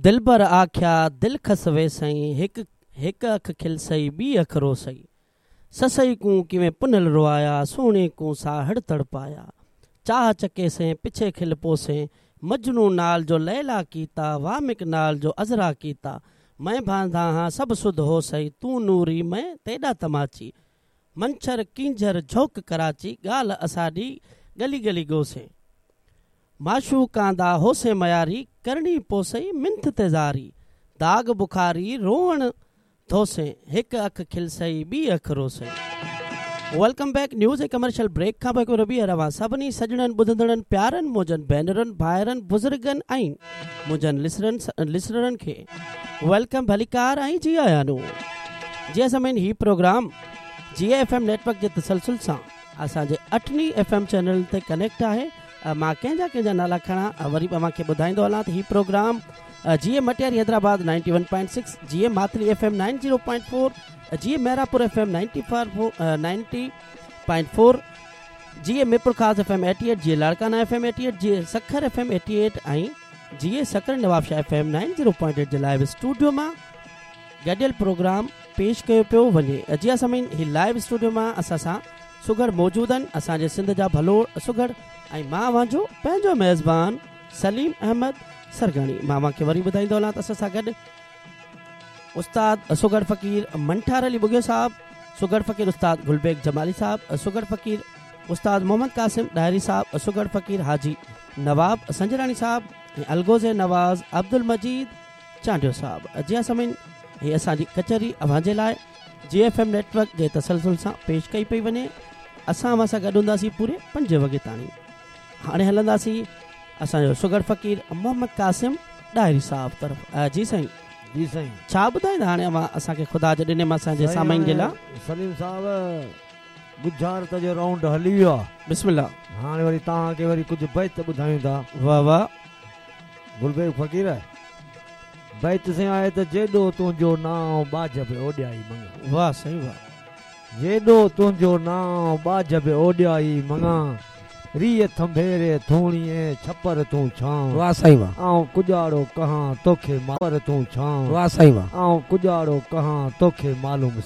دلبر آکيا دل کس ويسئين، هڪ هڪ اک کلسئي ٻي اک روسئي. سسئي ڪون ڪيوين پنهل روايا، سهڻي ڪون ساهڙ تڙپايا. چاهه چڪيسين پڇي کل پوسين، مجنون نال جو ليلا ڪيتا، وامق نال جو عذرا ڪيتا. مئن ڀانڌا هان سڀ سڌ هوسئي، تون نوري مئن تيڏا تماچي. منڇر ڪينجهر جهوڪ ڪراچي، ڳالهه اساڏي ڳلي ڳلي ڳوسين. معشوقان دا هوسين مياري، ڪرڻي پوسئي منٿ تي زاري. داغ بخاري روئڻ ڌوسين، هڪ اک کلسئي ٻي اک روسئي. Welcome back news ۽ commercial break کان پوء هڪ ڀيرو ٻيهر اوهان سڀني سڄڻن ٻڌندڙن پيارن منهنجن ڀينرن ڀائرن بزرگن ۽ منهنجن لسنرن کي welcome ڀليڪار ۽ جي آيان نون جي سامعين هي پروگرام جي ايف ايم نيٽورڪ جي تسلسل سان اسان جي اٺني ايف ايم چينلن تي ڪنيڪٽ آهي مان ڪنهن جا ڪنهن جا نالا کڻان وري به اوهان کي ٻڌائيندو هلان ته هي پروگرام جي مٽياري حيدرآباد 91.6 جي ماتلي ايف ايم 90.4 جي ميراپور ايف ايم 90.4 جي ميرپورخاص ايف ايم 88 جي لاڙڪانا ايف ايم 88 جي سکر ايف ايم 88 ۽ جي سکر نوابشاهه ايف ايم 90.8 جي لائيو اسٽوڊيو مان گڏيل پروگرام پيش ڪيو پيو وڃي. جي ها سامعين هي لائيو اسٽوڊيو مان اسان سان سگهڙ موجود آهن اسان جي سنڌ جا ڀلوڙ سگهڙ ۽ مان اوهان جو پنهنجو ميزبان سليم احمد سرگاڻي مان اوهان کي وري ٻڌائيندو هلان ته اسان سان گڏ استاد سگهڙ فقير منٺار علي ٻگهيو صاحب سگهڙ فقير استاد گل بيگ جمالي صاحب سگهڙ فقير استاد محمد قاسم ڏاهري صاحب سگهڙ فقير حاجي نواب سنجراڻي صاحب ۽ الغوزي نواز عبدالمجيد چانڊيو صاحب جي ها سامعين هي اسان جي ڪچهري اوهان جي لاء جي ايف ايم نيٽورڪ جي تسلسل سان پيش ڪئي پئي وڃي اسان اوهان سان گڏ هونداسين پوري پنج وڳي تاڻي هاڻي هلنداسين اسان جو سگهڙ فقير محمد قاسم ڏاهري صاحب طرف جي سائين جي سائين ڇا ٻڌائيندا هاڻي اوهان اسان کي خدا جي ڏني مان اسان جي سامعين جي لاء سليم صاحب ڳجهارت جو رائونڊ هلي ويو آ. بسم الله. هاڻي وري توهان کي وري ڪجهه بيت ٻڌايون ٿا. واه واه. گل بيگ فقير بيت سائين آهي ته جيڏو تنهنجو نانء ٻاجهه به اوڏيائي مڱان. واه سائين واه. جيڏو تنهنجو نانء ٻاجهه به اوڏيائي مڱان ريء ٿنڀيري ٿوڻيء ڇپر تون ڇانء. واه سائين واه. آئون ڪڄاڙو ڪهان توکي ڇپر تون ڇانء. واه سائين واه. آئون ڪڄاڙو ڪهان توکي معلوم.